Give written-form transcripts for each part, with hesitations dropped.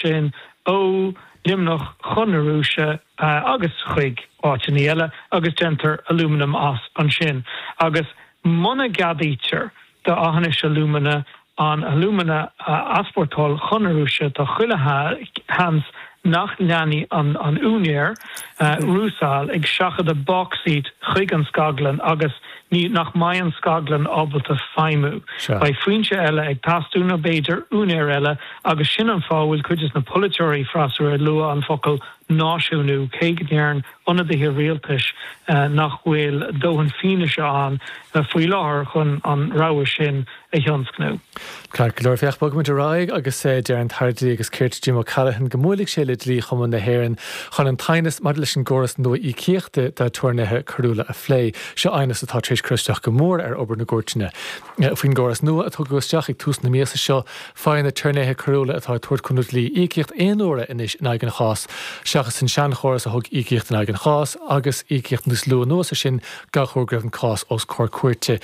Sin ó Luimneach chun na Rúise agus chuig áiteanna eile agus déantar alúmanam as ansin. Agus muna gceadaítear do Aughinish Alumina an alúmana a easpórtáil chun na Rúise tá chuile sheans nach leanfaidh an úinéir, Rusal, ag seachadadh bauxite chuig an scaglann agus ní nach mbeidh an scaglann ábalta feidhmiú. Beidh foinse eile ag teastú nó b'fhéidir úinéir eile agus sin an fáth a bhfuil cuid de na polaiteoirí freasúra ag lua an focal náisiúnú, cé go ndeireann ionadaithe rialtais nach bhfuil dóthain fianaise ann faoi láthair chun an rogha sin a thionscnú. Ceart go leor, féach, bogfaimid ar aghaidh agus deir an tAire Dlí agus Cirt Jim O'Callaghan go mbuailfidh sé le Dlí-Chumann na hÉireann chun an t-aighneas maidir leis an gcóras nua íocaíochta d'aturnaetha coiriúla a phlé. Seo aighneas atá tar éis cur isteach go mór ar obair na gcúirteanna. Faoin gcóras nua a tugadh isteach ag tús na míosa seo, faigheann aturnaetha coiriúla atá ag tabhairt cúnamh dlí íocaíocht aon uaire anois in aghaidh an chás, seachas an seanchóras a thug íocaíocht in aghaidh an chás agus íocaíocht níos lú anuas air sin gach uair go raibh an cás os comhair cúirte.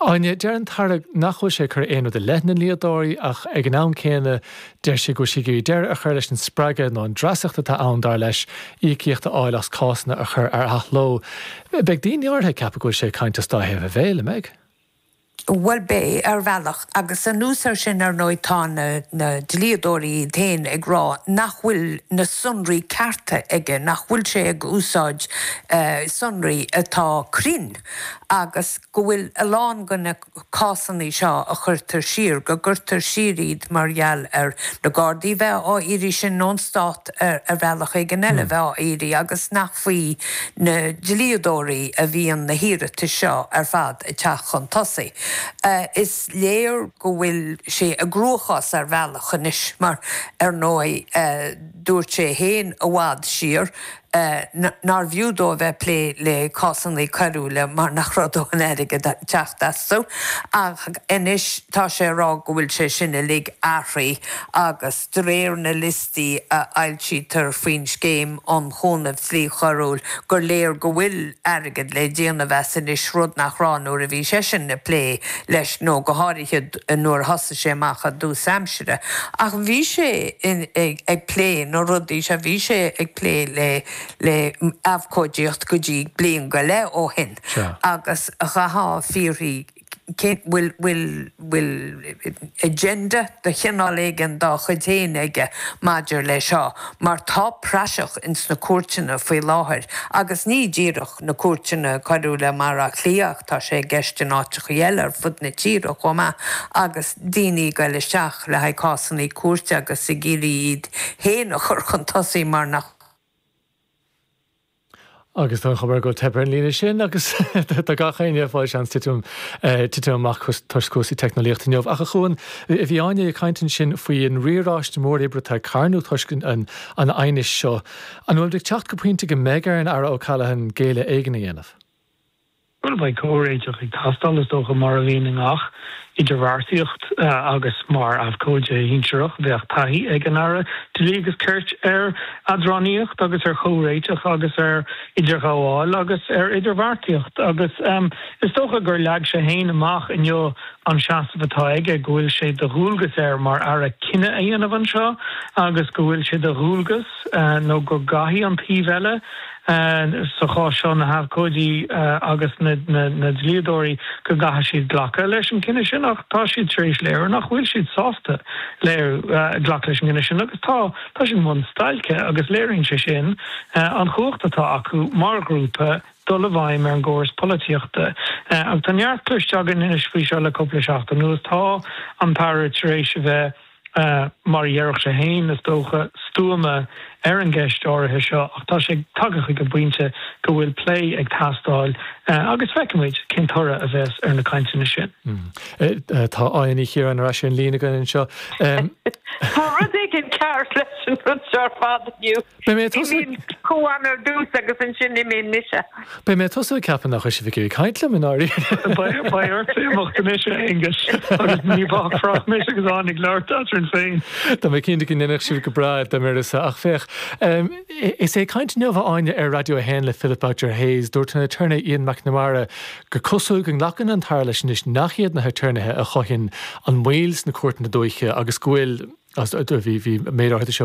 Áine, deir an tAire nach bhfuil sé ag cur aon rud i leith na ndlíodóirí ach ag an am céanna deir sé go bhfuil sé ag iarraidh deireadh a chur leis an spreagadh nó an dreasacht atá ann, dar leis, íocaíocht a fháil as cásanna a chur ar athló. Beidh daoine áirithe ag ceapadh go bhfuil sé ag caint as dá thaobh a bhéil, an mbeidh? Bhuel, beidh, ar bhealach. Agus anuas air sin, ar ndóigh, tá na dlíodóirí iad féin ag rá nach bhfuil na sonraí cearta aige, nach bhfuil sé ag úsáid sonraí atá cruinn agus go bhfuil a lán de na cásanna seo a chuirtear siar, go gcuirtear siar iad mar gheall ar na Gardaí bheith á iarraidh sin nó an Stát ar bhealach éigin eile bheith á iarraidh agus nach faoi na dlíodóirí a bhíonn na hiarratais seo ar fad ag teacht chun tosaigh. Is léir go bhfuil sé i gcruachás ar bhealach anois mar, ar ndóigh, dúirt sé féin i bhfad siar nárbh fhiú dó a bheith ag plé le cásanna coiriúla mar nach raibh dóthain airgid ag teacht astu. Ach anois tá sé ag rá go bhfuil sé sin uilig athraithe agus de réir na liostaí a fhoilsítear faoin Scéim um Chúnamh Dlí Choiriúil gur léir go bhfuil airgead le déanamh as anois, rud nach raibh nuair a bhí seisean ag plé leis nó go háirithe nuair a thosaigh sé amach i dtús aimsire. Ach bhí sé ag plé na rudaí seo, bhí sé ag plé le le abhcóidíocht go dtí bliain go leith ó shin agus chaithfeá fiafraí cén, bhfuil, bhfuil, bhfuil agenda de chineál éigin dá chuid féin aige maidir le seo mar tá praiseach ins na cúirteanna faoi láthair agus ní díreach na cúirteanna coiriúla i mBaile Átha Cliath ach tá sé i gceist in áiteachaí eile ar fud na tíre chomh maith agus daoine ag goil isteach le haghaidh cásannaí cúirte agus ag iarraidh iad féin a chur chun tosaigh mar nach Agus tá an chuma air go bhfuil teip ar an líne sin agus tá gach éinne ag fáil seans titim titim amach toisc cúrsaí teicneolaíochta inniu. Ach a Chuain, bhí Áine ag caint ansin faoi an riaráiste mór oibre atá ag carnadh toisc an aighnis seo. An bhfuil muid ag teacht go pointe go mbeidh ar an Aire O'Callaghan géilleadh éigin a dhéanamh? Bhuel, beidh comhréiteach ag teastáil, is dócha, mar a bhíonn i ngach idirbheartaíocht agus mar abhcóide shinsearach bheadh taithí ag an Aire Dlí agus Cirt ar eadránaíocht agus ar chomhréiteach agus ar idirghabháil agus ar idirbheartaíocht agus is dócha gur leag sé féin amach inniu an seasamh atá aige, go bhfuil sé de dhualgas air mar Aire cinneadh a dhéanamh anseo agus go bhfuil sé de dhualgas nó go gcaithfidh an taobh eile sa chás seo, na habhcóidí agus na dlíodóirí, go gcaithfidh siad glacadh leis an gcinneadh sin ach tá siad tar éis léiriú nach bhfuil siad sásta léiriú, glacadh leis an gcinneadh sin agus tá, tá siad i mbun stailce agus léiríonn sé sin an chumhacht atá acu mar ghrúpa dul i bhfeidhm ar an gcóras polaitíochta. Agus tá neart cloiste againn anois faoi seo le cúpla seachtain anuas. Tá an tAire tar éis a bheith, mar a déarfadh sé féin, is dócha, stuama ar an gceist áirithe seo ach tá sé tagtha chuig an bpointe go bhfuil plé ag teastáil agus feicfimid cén toradh a bheas ar na cainteanna sin. Tá Áine Ní Chiaráin ar ais ar an líne againn anseo. Tá rud éigin cearr leis an rud seo ar fad inniu. Beidh mé ag tosú. Imíonn Cuan ar dtús agus ansin imíonn mise. Beidh mé ag tosú ag ceapadh nach raibh sibh ag iarraidh caint liom i ndáiríre. Beidh ort imeacht anois, a Aonghuis, agus ní bhfágfar ach mise agus Áine ag labhairt eadrainn féin. Tá mé cinnte go ndéanfadh sibh go breá dá mb'uireasa, ach féach, is é ag caint inniu, a Áine, ar Raidió 1 le Philip Boucher Hayes, dúirt an aturnae Ian McNamara gur cosúil go nglacann an tAire leis anois nach iad na haturnaetha a chothaíonn an mhoill sna cúirteanna dúiche agus go bhfuil. Bhí, bhí méid áirithe de seo.